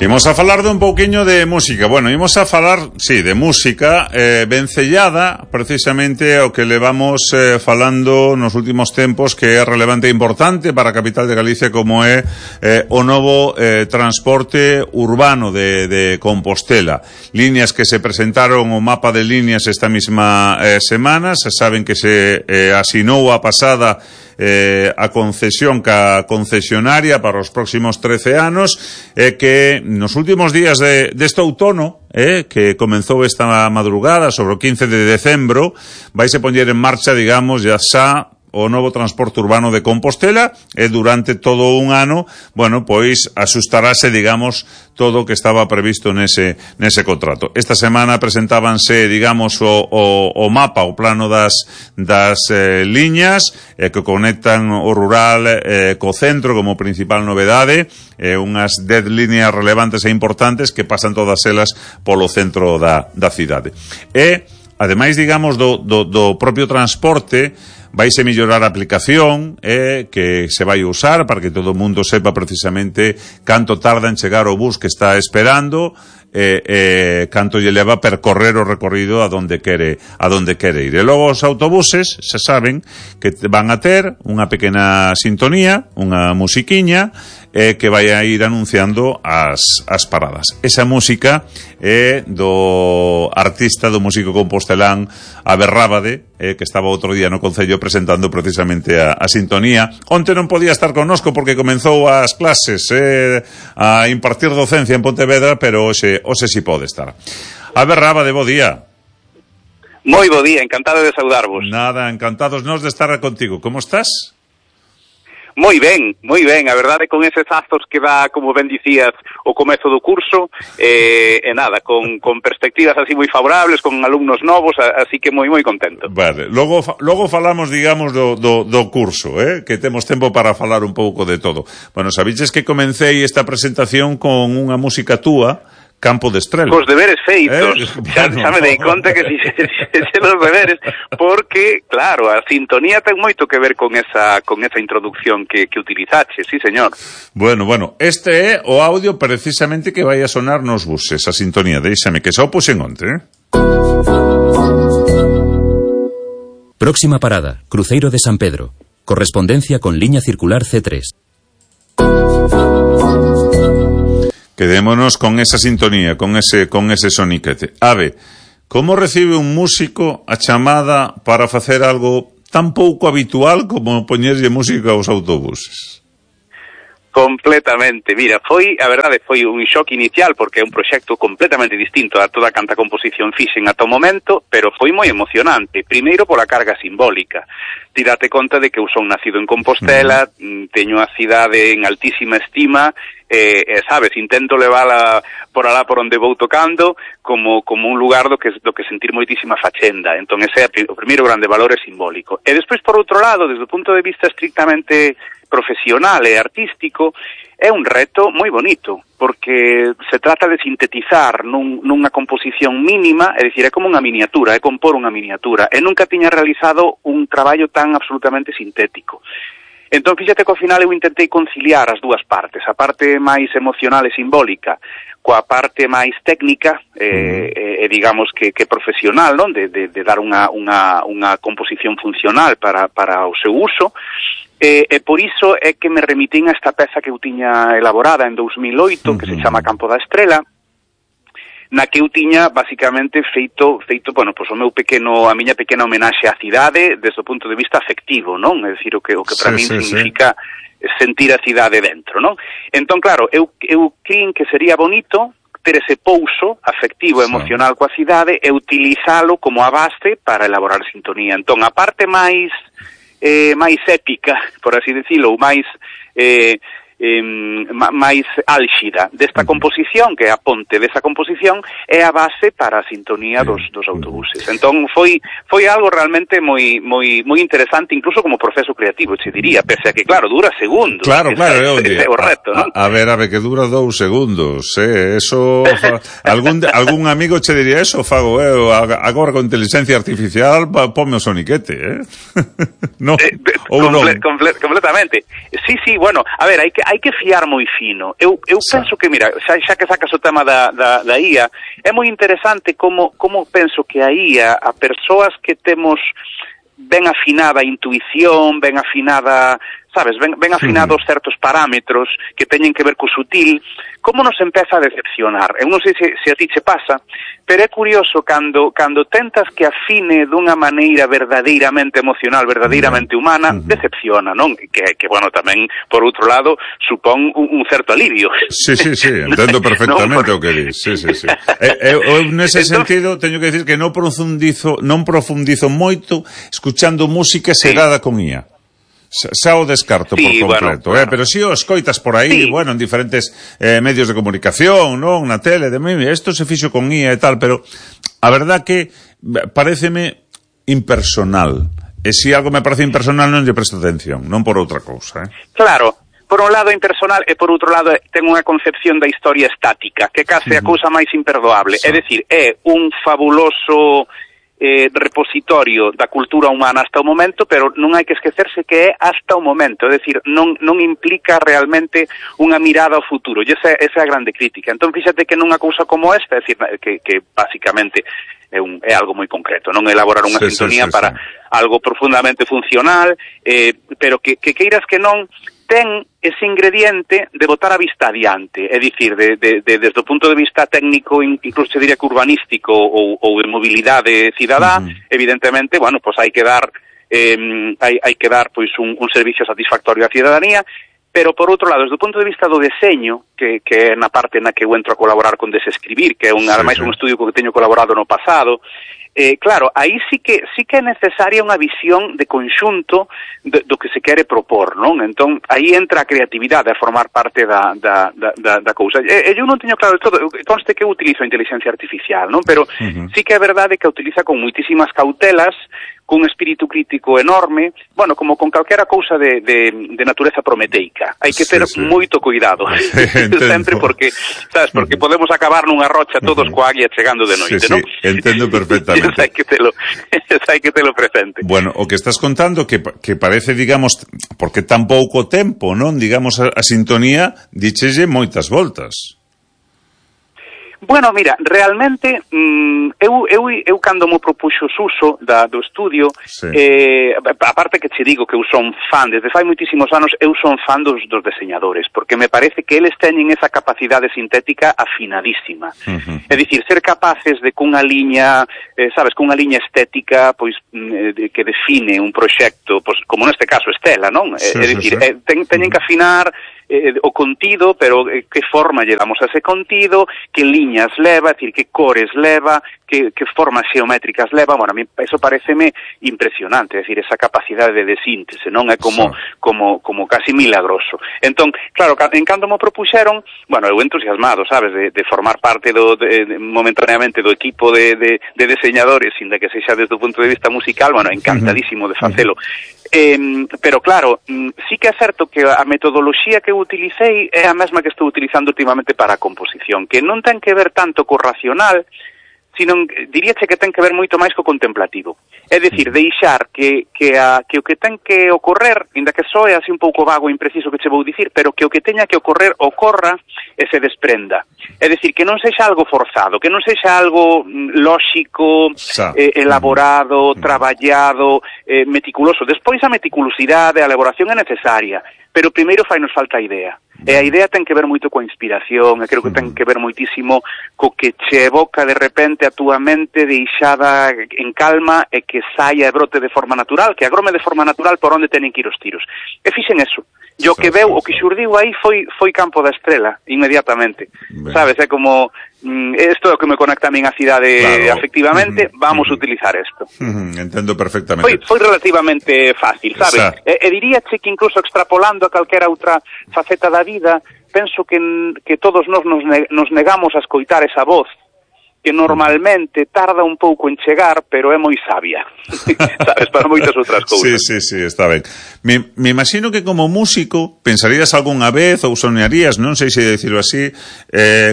Imos a falar de un pouquiño de música. Bueno, imos a falar, sí, de música vencellada precisamente ao que levamos falando nos últimos tempos, que é relevante e importante para a capital de Galicia, como é o novo transporte urbano de Compostela. Líneas que se presentaron o mapa de líneas esta mesma semana. Se saben que se asinou a pasada a concesión ca concesionaria para os próximos 13 anos, que nos últimos días deste outono, que comenzou esta madrugada sobre o 15 de decembro, vaise poñer en marcha, digamos, ya xa o novo transporte urbano de Compostela, e durante todo un ano, bueno, pois asustarase, digamos, todo o que estaba previsto nese contrato. Esta semana presentábanse, digamos, o mapa, o plano das liñas que conectan o rural co centro como principal novedade, unhas 10 líneas relevantes e importantes que pasan todas elas polo centro da cidade. E, ademais, digamos, do propio transporte, vaise mellorar a aplicación que se vai usar para que todo o mundo sepa precisamente canto tarda en chegar o bus que está esperando, canto lle leva percorrer o recorrido a donde quere ir. E logo os autobuses se saben que van a ter unha pequena sintonía, unha musiquiña, que vai a ir anunciando as paradas. Esa música é do artista, do músico compostelán Aberrábade, que estaba outro día no Concello presentando precisamente a sintonía. Onte non podía estar connosco porque comenzou as clases a impartir docencia en Pontevedra, pero hoxe si pode estar. Aberrábade, bo día. Moi bo día, encantado de saudarvos. Nada, encantados nós de estar contigo. Como estás? Moi ben, a verdade, con eses azos que dá, como ben dicías, o comezo do curso, nada, con perspectivas así moi favorables, con alumnos novos, así que moi contento. Vale, logo falamos, digamos, do curso, que temos tempo para falar un pouco de todo. Bueno, sabiches que comencei esta presentación con unha música túa, Campo de Estrela. Cos deberes feitos, xa me dei conta que fixese os deberes, porque, claro, a sintonía ten moito que ver con esa introducción que utilizaxe, sí, señor. Bueno, este é o audio precisamente que vai a sonar nos buses, a sintonía, deixame que xa o puxen onte, Próxima parada, Cruceiro de San Pedro. Correspondencia con liña circular C3. Quedémonos con esa sintonía, con ese soniquete. Ave, como recibe un músico a chamada para facer algo tan pouco habitual como poñerlle música aos autobuses? Completamente, mira, a verdade foi un shock inicial porque é un proxecto completamente distinto a toda canta composición fixen ata o momento, pero foi moi emocionante, primeiro pola carga simbólica. Ti date conta de que eu son nacido en Compostela, teño a cidade en altísima estima, sabes, intento levala por alá por onde vou tocando como un lugar do que sentir moitísima fachenda. Entón ese é o primeiro grande valor é simbólico. E despois, por outro lado, desde o punto de vista estrictamente profesional e artístico, é un reto moi bonito, porque se trata de sintetizar nunha composición mínima, é dicir, é como unha miniatura, é compor unha miniatura, e nunca tiña realizado un traballo tan absolutamente sintético. Entón, fíxate que ao final eu intentei conciliar as dúas partes, a parte máis emocional e simbólica, coa parte máis técnica, digamos que profesional, non? De dar unha composición funcional para o seu uso, e por iso é que me remitín a esta peza que eu tiña elaborada en 2008, que se chama Campo da Estrela, na que eu tiña basicamente feito, bueno, pois a miña pequena homenaxe á cidade desde o punto de vista afectivo, non? É dicir, o que para min significa sentir a cidade dentro, non? Entón, claro, eu crin que sería bonito ter ese pouso afectivo e emocional coa cidade e utilizalo como a base para elaborar sintonía. Entón, a parte máis épica, por así decirlo, ou máis álxida desta composición, que é a ponte desa composición, é a base para a sintonía dos autobuses. Entón foi algo realmente moi interesante, incluso como proceso creativo, che diría, pese a que, claro, dura segundos. Claro, ese é o reto, non? A ver, que dura 2 segundos, eso algún amigo che diría eso, fago, agora con inteligencia artificial, ponme o soniquete, no? Completamente. Sí, bueno, a ver, hai que hai que fiar moi fino. Eu penso que, mira, xa que sacas o tema da IA, é moi interesante como penso que a IA, a persoas que temos ben afinada a intuición, ben afinada, sabes, ben afinados certos parámetros que teñen que ver co sutil, como nos empeza a decepcionar. Eu non sei se a ti che pasa, pero é curioso cando tentas que afine dunha maneira verdadeiramente emocional, verdadeiramente humana, decepciona, non? Que bueno, tamén, por outro lado, supón un certo alivio. Sí, entendo perfectamente o que dis. Sí. Eu nese sentido teño que decir que non profundizo moito escuchando música xerada con IA. Xa o descarto por completo, bueno, claro. Pero si o escoitas por aí, bueno, en diferentes medios de comunicación, non, na tele, isto se fixo con IA e tal, pero a verdad que pareceme impersonal. E se algo me parece impersonal non lle presto atención, non por outra cousa, Claro. Por un lado impersonal e por outro lado ten unha concepción da historia estática, que case a cousa máis imperdoable. É dicir, é un fabuloso repositorio da cultura humana hasta o momento, pero non hai que esquecerse que é hasta o momento, é dicir, non implica realmente unha mirada ao futuro, e esa é a grande crítica. Entón, fíxate que nunha cousa como esta, é dicir, que basicamente é algo moi concreto, non elaborar unha sintonía para algo profundamente funcional, pero que queiras que non, ten ese ingrediente de botar a vista adiante, é dicir, desde o punto de vista técnico, incluso diría que urbanístico ou de mobilidade cidadá, evidentemente, bueno, pues hai que dar pois un servicio satisfactorio á cidadanía, pero por outro lado, desde o punto de vista do deseño, que é na parte na que eu entro a colaborar con Desescribir, que é ademais un estudio co que teño colaborado no pasado, claro, aí sí que é necesaria unha visión de conxunto do que se quere propor, non? Entón, aí entra a creatividade a formar parte da cousa. Eu non teño claro de todo, conste que eu utilizo a inteligencia artificial, non? Pero sí que é verdade que a utiliza con moitísimas cautelas, cun espírito crítico enorme, bueno, como con calquera cousa de natureza prometeica. Hai que ter moito cuidado, sempre porque, sabes, porque podemos acabar nunha rocha todos coa águia chegando de noite, non? Entendo perfectamente. Hai que telo presente. Bueno, o que estás contando que parece, digamos, porque tan pouco tempo, non? Digamos, a sintonía díchelle moitas voltas. Bueno, mira, realmente eu cando mo propuxo o uso do estudio, aparte que che digo que eu son fan, desde fai moitísimos anos eu son fan dos deseñadores, porque me parece que eles teñen esa capacidade sintética afinadísima. É dicir, ser capaces de cunha liña, sabes, cunha liña estética, pois que define un proxecto, pois como neste caso Estela, non? É dicir, teñen que afinar o contido, pero que forma lle damos a ese contido, que liñas leva, é dicir, que cores leva, que formas xeométricas leva. Bueno, a mí eso pareceme impresionante, é dicir, esa capacidade de síntese, non? É como casi milagroso. Entón, claro, en cando mo propuxeron, bueno, eu entusiasmado, sabes, de formar parte momentaneamente do equipo de deseñadores, sin de que sexa desde o punto de vista musical, bueno, encantadísimo de facelo. Pero claro, sí que é certo que a metodoloxía que eu utilicei é a mesma que estou utilizando últimamente para a composición, que non ten que ver tanto co racional, sino diríache que ten que ver moito máis co contemplativo. É dicir, deixar que o que ten que ocorrer, inda que soe así un pouco vago e impreciso que che vou dicir, pero que o que teña que ocorrer ocorra e se desprenda. É dicir, que non sexa algo forzado, que non sexa algo lóxico, elaborado, traballado, meticuloso. Despois a meticulosidade, a elaboración é necesaria, pero primeiro fainos falta a idea. E a idea ten que ver moito coa inspiración, e creo que ten que ver moitísimo co que che evoca de repente a túa mente deixada en calma e que saia e brote de forma natural, que agrome de forma natural por onde tenen que ir os tiros. E fixen eso. E o que veu, o que xurdiu aí foi Campo da Estrela, inmediatamente. Sabes, é como isto é o que me conecta a min a cidade, claro. Afectivamente, vamos a utilizar isto. Entendo perfectamente. Foi relativamente fácil, sabes? E diríache que incluso extrapolando a calquera outra faceta da vida, penso que todos nos negamos a escoitar esa voz que normalmente tarda un pouco en chegar, pero é moi sabia, sabes, para moitas outras cousas. Sí, está ben. Me imagino que como músico pensarías algunha vez ou soñarías, non sei se decirlo así,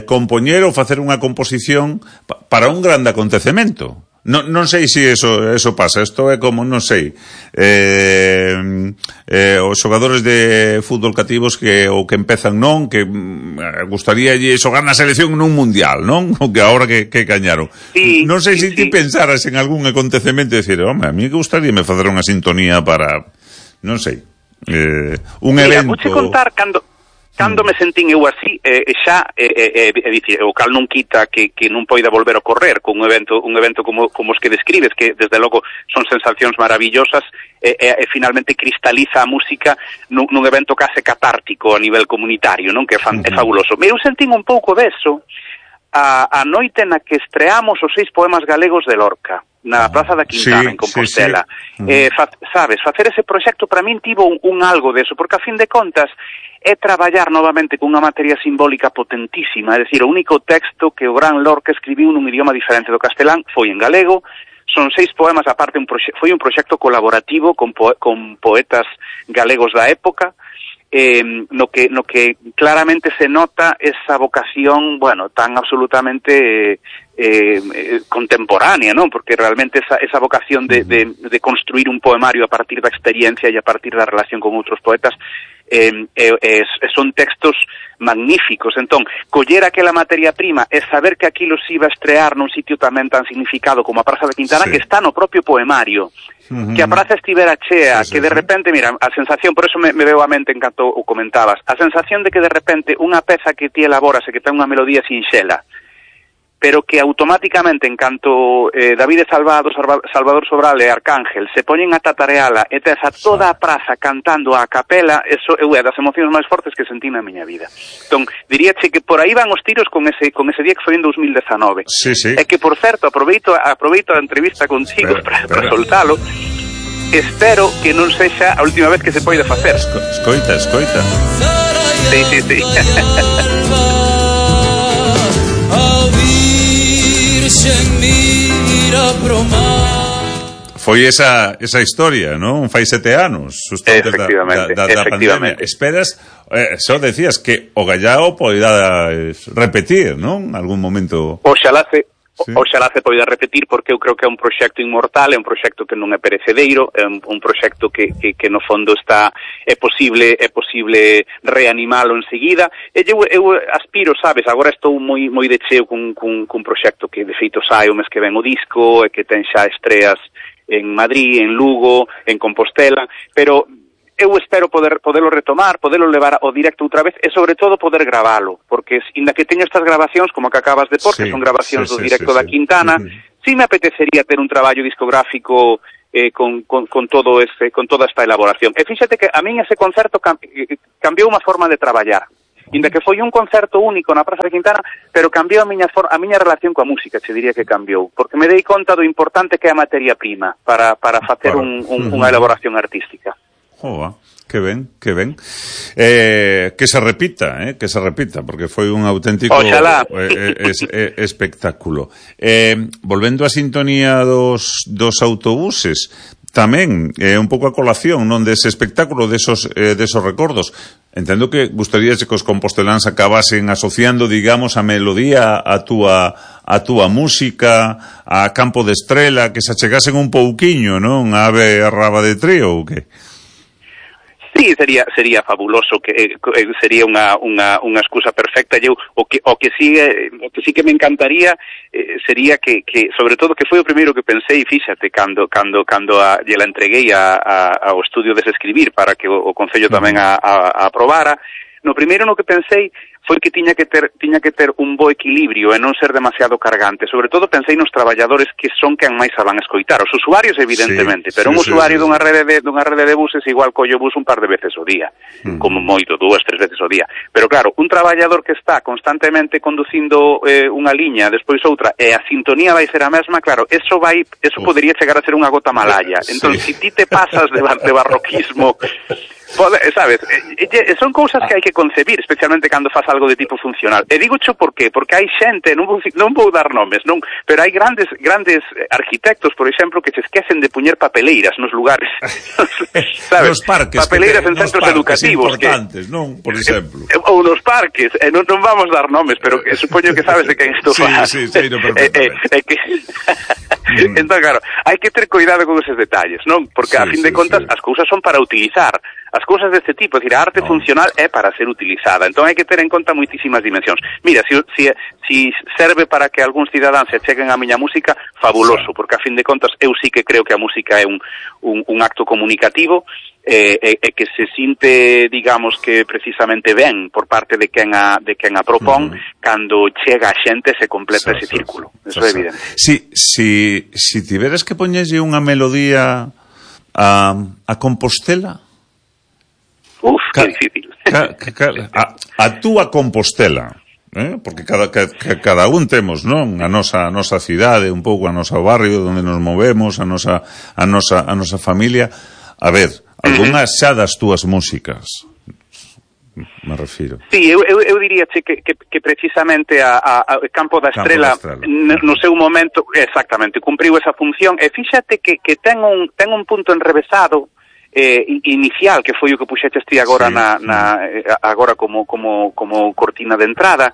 compoñer ou facer unha composición para un grande acontecemento. Non sei se eso pasa. Isto é como, non sei, os xogadores de fútbol cativos que empezan que gustaríalle xogar na selección nun mundial, non? O que agora que gañaron. Sí, non sei se ti pensaras en algún acontecemento e dicir, home, a mí que gustaríame facer unha sintonía para, non sei, un evento. Mira, vouche contar cando me sentín eu así, xa, dicir, o cal non quita que non poida volver a correr con un evento como os que describes, que desde logo son sensacións maravillosas, e finalmente cristaliza a música nun evento case catártico a nivel comunitario, non? Que é fabuloso. Eu sentín un pouco deso a noite na que estreamos os 6 poemas galegos de Lorca, na Praza da Quintana, en Compostela. Sabes, facer ese proxecto para min tivo un algo deso, porque a fin de contas é traballar novamente cunha materia simbólica potentísima, é dicir, o único texto que o gran Lorca escribiu nun idioma diferente do castelán foi en galego. Son 6 poemas, aparte foi un proxecto colaborativo con poetas galegos da época, no que claramente se nota esa vocación, bueno, tan absolutamente contemporánea, ¿no? Porque realmente esa vocación de construir un poemario a partir da experiencia e a partir da relación con outros poetas son textos magníficos. Entón, coller aquela materia prima e saber que aquilo se iba a estrear nun sitio tamén tan significado como a Praza da Quintana, que está no propio poemario, que a praza estivera chea, que de repente, mira, a sensación, por eso me veo a mente en canto o comentabas, a sensación de que de repente unha peza que ti elaboras e que ten unha melodía sinxela, pero que automáticamente, en canto David Salvador Sobral e Arcángel se poñen a tatareala e tes a toda a praza cantando a capela, eso é das emocións máis fortes que sentí na miña vida. Entón, diríache que por aí van os tiros con ese día que foi en 2019. Sí. É que, por certo, aproveito a entrevista contigo para soltalo. Espero que non sexa a última vez que se poida facer. Escoita. Sí. Foi esa historia, non? Fai 7 anos, efectivamente, da pandemia. Esperas, só decías que o Gallao poida repetir, non? Algún momento. Oxalá se poida repetir, porque eu creo que é un proxecto inmortal, é un proxecto que non é perecedeiro, é un proxecto que no fondo é posible reanimalo enseguida. E eu aspiro, sabes, agora estou moi de cheo cun proxecto que de feito sai o mes que ven o disco, e que ten xa estreas en Madrid, en Lugo, en Compostela, pero eu espero poderlo retomar, poderlo levar ao directo outra vez e, sobre todo, poder gravalo, porque, inda que teño estas grabacións, como que acabas de pôr, que son grabacións do directo da Quintana, sí me apetecería ter un traballo discográfico con toda esta elaboración. E fíxate que a min ese concerto cambiou unha forma de traballar. Inda que foi un concerto único na Praza de Quintana, pero cambiou a miña relación coa música, se diría que cambiou, porque me dei conta do importante que é a materia prima para facer unha elaboración artística. Que ben. Que se repita, porque foi un auténtico espectáculo. Volvendo á sintonía dos autobuses, tamén un pouco a colación, non, dese espectáculo, desos recordos. Entendo que gustaríase que os composteláns acabasen asociando, digamos, a melodía a túa música, a Campo de Estrela, que se achegasen un pouquiño, non? A Ave Raba de Trío, ou que? Sí, sería fabuloso, que sería unha excusa perfecta. O que sí que me encantaría sería que sobre todo, que foi o primeiro que pensei, fíxate, cando lle la entreguei ao estudio de escribir para que o Concello tamén a aprobara. No primeiro no que pensei foi que tiña que ter un bo equilibrio e non ser demasiado cargante. Sobre todo pensei nos traballadores que son quen máis a van a escoitar. Os usuarios, evidentemente, pero un usuario dunha rede de buses igual colle o bus un par de veces ao día, como moito, 2, 3 veces ao día. Pero claro, un traballador que está constantemente conducindo unha liña, despois outra, e a sintonía vai ser a mesma, claro, eso podería chegar a ser unha gota malaya. Entón, se ti te pasas de barroquismo sabes, son cousas que hai que concebir, especialmente cando faz algo de tipo funcional. E digo xo por qué? Porque hai xente, non vou dar nomes, non, pero hai grandes arquitectos, por exemplo, que se esquecen de puñer papeleiras nos lugares. Sabes? Nos parques, papeleiras en centros educativos importantes, non, por exemplo. Ou nos parques, non vamos dar nomes, pero que supoño que sabes de quen estou falando. Sí, no, perfectamente. Entón, claro, hai que ter cuidado con eses detalles, non? Porque a fin de contas as cousas son para utilizar. As cousas deste tipo, é dicir, a arte funcional é para ser utilizada. Entón hai que ter en conta moitísimas dimensións. Mira, si serve para que algúns cidadáns se cheguen á miña música, fabuloso, porque a fin de contas eu sí que creo que a música é un acto comunicativo e que se sinte, digamos, que precisamente ben por parte de quen a propón, cando chega a xente se completa ese círculo. Eso é evidente. Si tiveres que poñerlle unha melodía a Compostela, que difícil. A túa Compostela, porque cada un temos, non, a nosa cidade, un pouco a nosa barrio onde nos movemos, a nosa familia. A ver, algunhas xa das túas músicas, me refiro. Sí, eu diría que precisamente a Campo da Estrela no seu momento, exactamente, cumpriu esa función, e fíxate que ten un punto enrevesado inicial, que foi o que puxeches ti agora agora como cortina de entrada.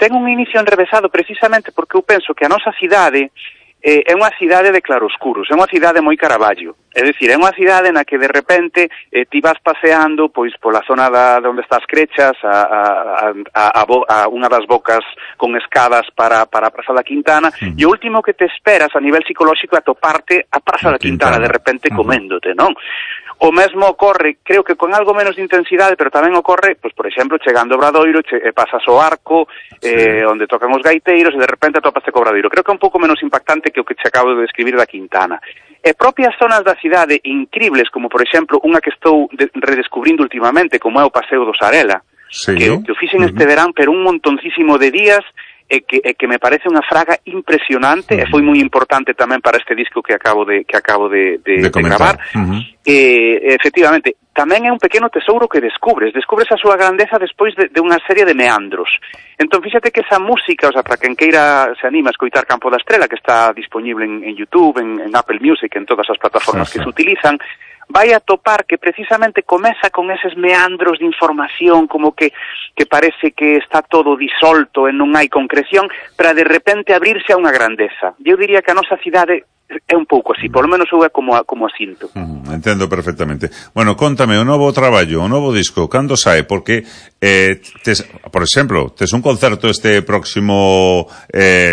Ten un inicio enrevesado precisamente porque eu penso que a nosa cidade é unha cidade de claroscuros, é unha cidade moi Caravaggio, é dicir, é unha cidade na que de repente ti vas paseando pois pola zona onde estás Crechas a unha das bocas con escadas para a Praza da Quintana, e o último que te esperas a nivel psicolóxico é atoparte a Praza da Quintana de repente coméndote, non? O mesmo ocorre, creo que con algo menos de intensidade, pero tamén ocorre, pois, por exemplo, chegando ao Obradoiro, pasas o Arco, onde tocan os gaiteiros, e de repente atopaste co Obradoiro. Creo que é un pouco menos impactante que o que te acabo de describir da Quintana. E propias zonas da cidade incribles, como, por exemplo, unha que estou redescubrindo últimamente, como é o Paseo do Sarela, que o fixen este verán, pero un montoncísimo de días, e que me parece unha fraga impresionante, e foi moi importante tamén para este disco que acabo de gravar. Efectivamente, tamén é un pequeno tesouro que descubres a súa grandeza despois de unha serie de meandros. Entón, fíxate que esa música, o sea, para quen queira se anima a escoitar Campo da Estrela, que está disponible en YouTube, en Apple Music, en todas as plataformas que se utilizan, vai a topar que precisamente comeza con eses meandros de información, como que parece que está todo disolto e non hai concreción, para de repente abrirse a unha grandeza. Eu diría que a nosa cidade é un pouco así, por lo menos eu é como a sinto. Entendo perfectamente. Bueno, contame, o novo traballo, o novo disco, cando sae? Porque, por exemplo, tes un concerto este próximo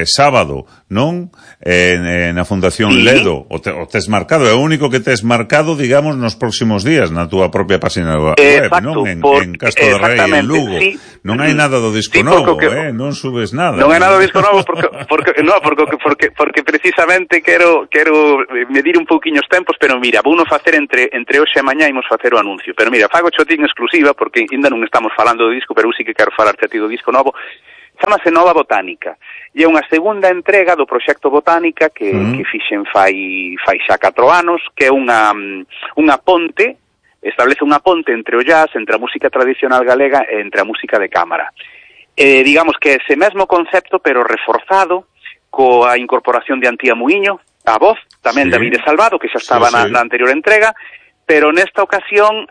sábado, non? Na Fundación Ledo, o tes marcado, é o único que tes marcado, digamos, nos próximos días, na túa propia página web, non? En Castro de Rei, en Lugo. Non hai nada do disco novo, non subes nada. Non hai nada do disco novo porque precisamente quero medir un pouquiño os tempos, pero mira, vou non facer entre hoxe e mañá imos facer o anuncio. Pero mira, fago chotín exclusiva, porque ainda non estamos falando do disco, pero eu sí que quero falar a ti do disco novo. Chámase Nova Botánica, e é unha segunda entrega do proxecto Botánica que fixen fai xa 4 anos, que é unha ponte, establece unha ponte entre o jazz, entre a música tradicional galega e entre a música de cámara. Digamos que é ese mesmo concepto, pero reforzado, coa incorporación de Antía Muiño, a voz, tamén David Salvado, que xa estaba na anterior entrega, pero nesta ocasión,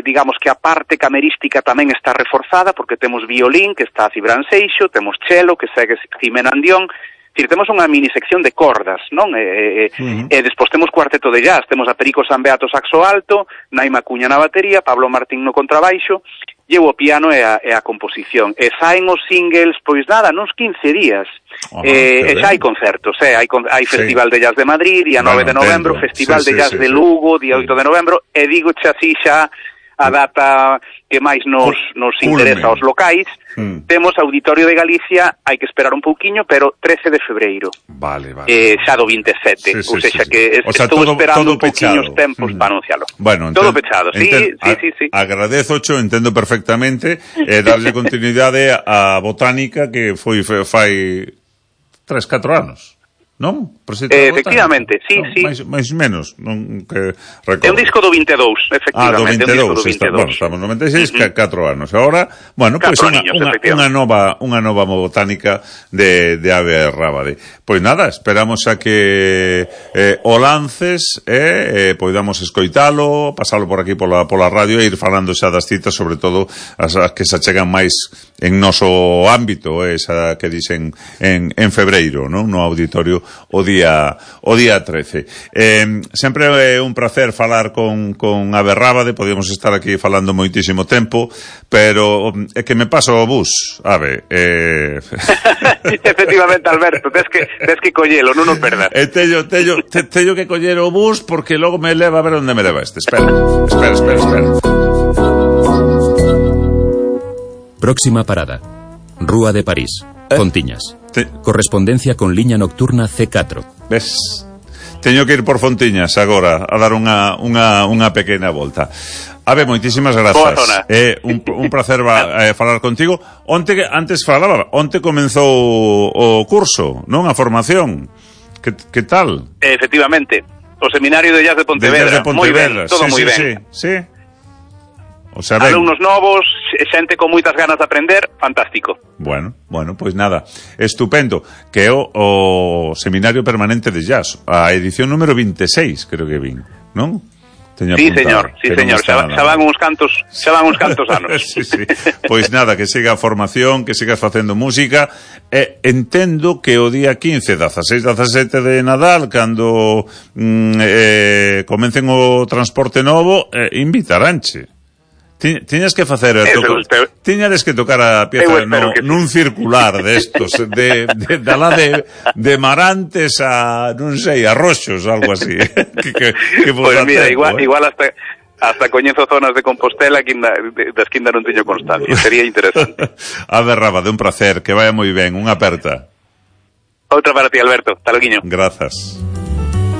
digamos que a parte camerística tamén está reforzada, porque temos violín, que está Cibran Seixo, temos cello, que segue Jimena Andión, temos unha mini sección de cordas, non? E despois temos cuarteto de jazz, temos a Perico Sanbeato saxo alto, Naima Cuña na batería, Pablo Martín no contrabaixo, e o piano e a composición. E saen os singles, pois nada, nos 15 días. E xa hai concertos, hai Festival de Jazz de Madrid, día 9 de novembro, Festival de Jazz de Lugo, día 8 de novembro, e digo xa así xa a data que máis nos interesa aos locais. Temos Auditorio de Galicia, hai que esperar un pouquiño, pero 13 de febreiro. Vale. Xa do 27, ou seja que estou esperando un pouquiño os tempos para anuncialo. Bueno, todo pechado, sí. Agradezocho, entendo perfectamente, darlle continuidade a Botánica, que foi fai 3-4 anos, non? Efectivamente, sí, sí. Mais menos, non que recordo. É un disco do 22, efectivamente. Do 22, estamos no 96, 4 anos. Agora, bueno, pois unha nova botánica de Ave Rábade. Pois nada, esperamos a que o lances poidamos escoitalo, pasalo por aquí pola radio e ir falando xa das citas, sobre todo as que se achegan máis en noso ámbito, esa que dicen en febreiro, non? No auditorio o día 13. Sempre é un placer falar con Ave Rábade, podíamos estar aquí falando moitísimo tempo, pero é que me paso o bus, Ave. Efectivamente, Alberto, tes que collelo, non o perdas. Teño que coller o bus porque logo me leva a ver onde me leva este. Espera. Próxima parada. Rúa de París, Fontiñas. Correspondencia con liña nocturna C4. Ves? Teño que ir por Fontiñas agora a dar unha pequena volta. Ave, moitísimas grazas. Un placer falar contigo. Antes comenzou o curso, non? A formación. Que tal? Efectivamente. O seminario de Jazz de Pontevedra. Moi ben, todo moi ben. Sí. O sea, alumnos novos, xente con moitas ganas de aprender, fantástico. Bueno, pois nada, estupendo. Que é o Seminario Permanente de Jazz, a edición número 26, creo que vin, non? Sí, señor. Xa van uns cantos anos. Sí. Pois nada, que siga a formación, que sigas facendo música. Entendo que o día 15, 16, 17 de Nadal, cando comecen o transporte novo, invitaránche. Tiñas que facer tiñades que tocar a pieza nun circular destos de Marantes a, non sei, a Roxos, algo así. Pois mira, igual hasta coñezo zonas de Compostela das que ainda non teño constancia. Sería interesante. Ave Rábade, un placer, que vaya moi ben, unha aperta. Outra para ti, Alberto. Hasta logo. Grazas.